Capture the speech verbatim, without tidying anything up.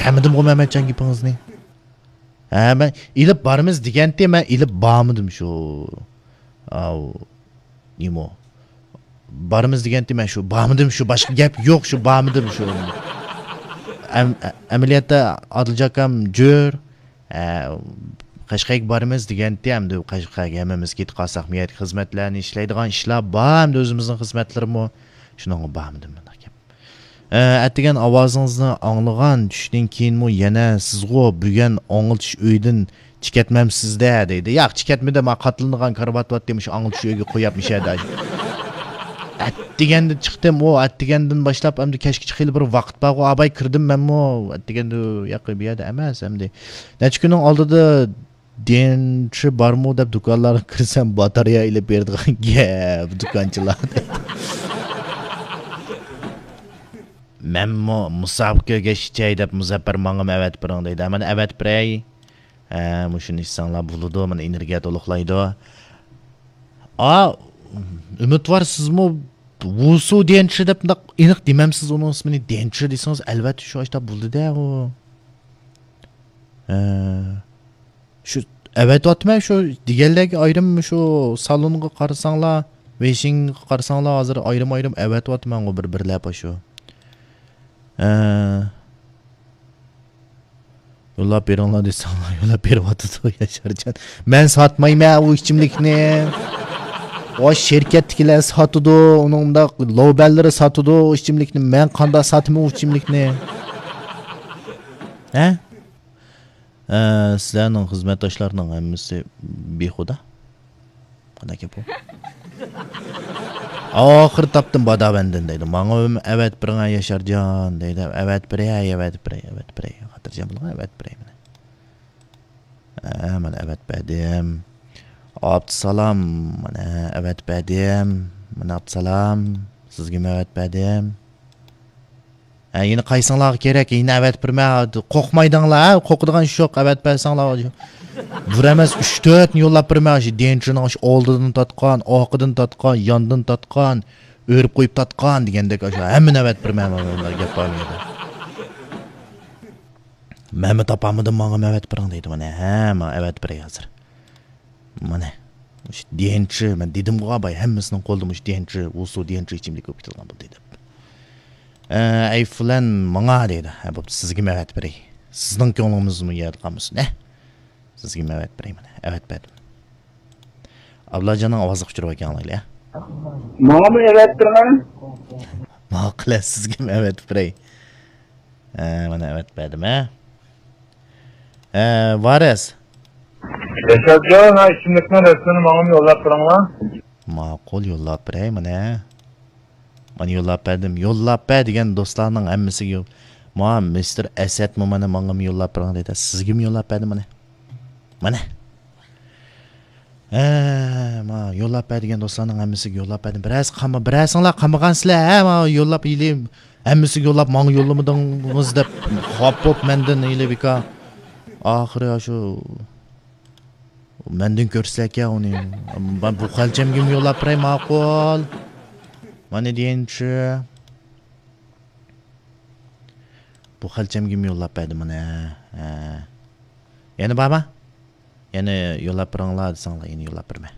چۈشەنمىدىمغۇ مەمەتجان گېپىڭىزنى؟ ھە، مەن ئېلىپ بارىمىز دېگەنتى، مەن ئېلىپ بارمىدىم شۇ. ئاۋۇ. نېمە ئۇ؟ بارىمىز دېگەنتى، مەن شۇ بارمىدىم، شۇ باشقا گەپ يوق، شۇ بارمىدىم شۇ. ئەم-، ئەمەلىيەتتە ئادىلجاكام جۆر، ئە، قەشقەرگە بارىمىز دېگەنتى، ئەمدى قەشقەرگە ھەممىمىز كېتىپ قالساق، مۇ يەردە خىزمەتلەرنى ئىشلەيدىغان ئىشلار بار، ئەمدى ئۆزىمىزنىڭ خىزمەتلىرىمۇ. شۇنىڭغا بارمىدىم مۇنداق گەپ. ئە، ئەتىگەن ئاۋازىڭىزنى ئاڭلىغان چۈشتىن كېيىنمۇ يەنە سىزغۇ بۈگۈن ئاڭلىتىش ئۆيىدىن چىكەتمەمسىز-دە دەيدۇ. ياق، چىكەتمىدىم، ھا، قاتلىنىدىغان كارىۋات بارتى، مۇشۇ ئاڭلىتىش ئۆيىگە قويۇپ مۇشۇ يەردە. ئەتىگەندە چىقتىم، ئۇ ئەتىگەندىن باشلاپ ئەمدى كەچكىچە خېلى بىر ۋاقىت بارغۇ، ئاباي كىردىم مەنمۇ. ئەتىگەندە ياقى بۇ يەردە ئەمەس ئەمدى. نەچچە كۈننىڭ ئالدىدا دېنچى بارمۇ دەپ دۇكانلارغا كىرسەم، باتارېيە ئېلىپ بېرىدىغان گەپ دۇكانچىلار. مەنمۇ مۇسابىقە كۆرگەچ ئىچەي دەپ مۇزەپپەر ماڭىمۇ ئەۋەتىپ بېرىڭ دەيدۇ. مانا ئەۋەتىپ بېرەي. ھە، مۇشۇنى ئىچسەڭلار بولىدۇ، مانا ئېنېرگىيە تولۇقلايدۇ. ئا، ئۈمىدۋار سىزمۇ ۋۇسۇ دېنچى دەپ مۇنداق ئېنىق دېمەمسىز ئۇنىڭ ئىسمىنى، دېنچى دېسىڭىز ئەلۋەتتە شۇ ئاشتا بولىدۇ-دە ئۇ. ھە. شۇ ئەۋەتىۋاتىمەن، شۇ دېگەنلەرگە ئايرىم، شۇ سالونغا قارىساڭلار، ۋېيشىڭغا قارىساڭلار، ھازىر ئايرىم-ئايرىم ئەۋەتىۋاتىمەنغۇ بىر، بىر لەپە شۇ. ئە، يوللاپ بېرىڭلار دېسەڭلار، يوللاپ بېرىۋاتىدۇ ياشارجان. مەن ساتمايمەن ئۇ ئىچىملىكنى. ئۇ شىركەتتىكىلەر ساتىدۇ، ئۇنىڭ ئۇنداق لوبەنلىرى ساتىدۇ ئۇ ئىچىملىكنى. مەن قانداق ساتىمەن ئۇ ئىچىملىكنى؟ ھە؟ ئە، سىلەرنىڭ خىزمەتداشلارنىڭ ھەممىسى بىخۇدا. قانداق گەپ بۇ؟ ئاخىرى تاپتىم باداۋەندىن دەيدۇ. ماڭا ئەۋەت بېرىڭە ياشارجان دەيدۇ. ئەۋەت بېرەي، ئەۋەت بېرەي، ئەۋەت بېرەي. خاتىرجەم بولۇڭ، ئەۋەت بېرەي مانا. ھە، مانا ئەۋەت بەردىم. ئابدۇسالام، مانا ئەۋەت بەردىم. مانا ئابدۇسالام، سىزگىمۇ ئەۋەت بەردىم. ھە، يەنە قايسىڭلارغا كېرەك، يەنە ئەۋەت بېرىمەن. قورقمايدىڭلار، ھە؟ قورقىدىغان ئىش يوق، ئەۋەت بەرسەڭلار. بىر ئەمەس، ئۈچ تۆتنى يوللاپ بېرىمەن. شۇ دېنچىنىڭ شۇ ئالدىدىن تارتقان، ئارقىدىن تارتقان، ياندىن تارتقان، ئۆرۈپ قويۇپ تارتقان دېگەندەك، شۇ ھەممىنى ئەۋەت بېرىمەن. مانا گەپ بار مۇ يەردە؟ مەنمۇ تاپالمىدىم، ماڭا ئەۋەت بېرىڭ دەيدۇ. مانا، ھە، مانا ئەۋەت بېرەي ھازىر. مانا، مۇشۇ دېنچى، مەن دېدىمغۇ، باي، ھەممىسىنىڭ قولىدا مۇشۇ دېنچى، ۋۇسۇ دېنچى ئىچىملىكى بولۇپ كېتىدىغان بولدى دەپ. ئە، ئەي فۇلان، ماڭا دەيدۇ. ھە، بوپتۇ، سىزگىمۇ ئەۋەت بېرەي. سىزنىڭ كۆڭلىڭىزمۇ يەردە قالمىسۇن، ھە؟ سىزگىمۇ ئەۋەت بېرەي، مانا، ئەۋەت بەردىم. ئابلاجاننىڭ ئاۋازىغا ئۇچۇرۇۋەتكەن ئاڭلايلى، ھە؟ ماڭىمۇ ئەۋەت بېرىڭە. ماقۇل، سىزگىمۇ ئەۋەت بېرەي. ھە، مانا ئەۋەت بەردىم، ھە. ھە، ۋارىس. ياشارجان، ھە، ئىچىملىكنىڭ رەسىمىنى ماڭىمۇ يوللاپ بېرىڭلار. ماقۇل، يوللاپ بېرەي، مانا. مانا يوللاپ بەردىم. يوللاپ بەر دېگەن دوستلارنىڭ ھەممىسىگە يول-، ما، مىستېر ئەسەتمۇ مانا ماڭىمۇ يوللاپ بېرىڭ دەيدۇ. سىزگىمۇ يوللاپ بەردىم، مانا. مانا. ھە، ما، يوللاپ بەر دېگەن دوستلارنىڭ ھەممىسىگە يوللاپ بەردىم. بىرەرسى قالما-، بىرەرسىڭلار قالمىغانسىلەر، ھە، ما، يوللاپ ئېلىم. ھەممىسىگە يوللاپ، ماڭا يوللىمىدىڭىز دەپ خاپا بولۇپ مەندىن ئېلى بىكار. ئاخىرى شۇ مەندىن كۆرسىلەككەن ئۇنى. مەن بۇ خەلچەمگىمۇ يوللاپ بېرەي، ماقۇل. مانا دېيىنچى. بۇ خەلچەمگىمۇ يوللاپ بەردى مانا. ھە. يەنە بارما؟ يەنە يوللاپ بېرىڭلار دېسەڭلار، يەنە يوللاپ بېرىمەن.